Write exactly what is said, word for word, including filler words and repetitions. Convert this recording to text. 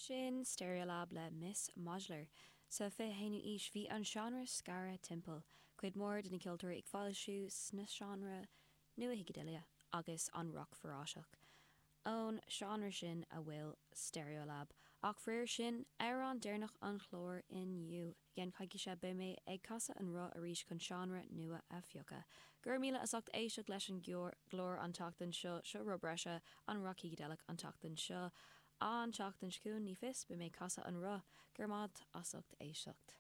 Sin Stereolab le Miss Modular. Sa fiche haonú aois bhí an seánra scartha timpeall, cuid mhór de na ceoltóirí ag foilsiú sna seánra nua-shícideileach agus an roc forásach. Ón seánra sin a bhfuil Stereolab, ach faraor sin amhrán deireanach an chláir inniu. I gceann coicíse beidh mé ag casadh an roth arís chun seánra nua a phiocadh. Gur míle as ucht éisteacht leis an gclár an tseachtain seo seo rud breise an roc shícideileach an tseachtain seo. An tseachtain seo chugainn ní fios beidh mé ag casadh an roth gur maith as ucht éisteacht.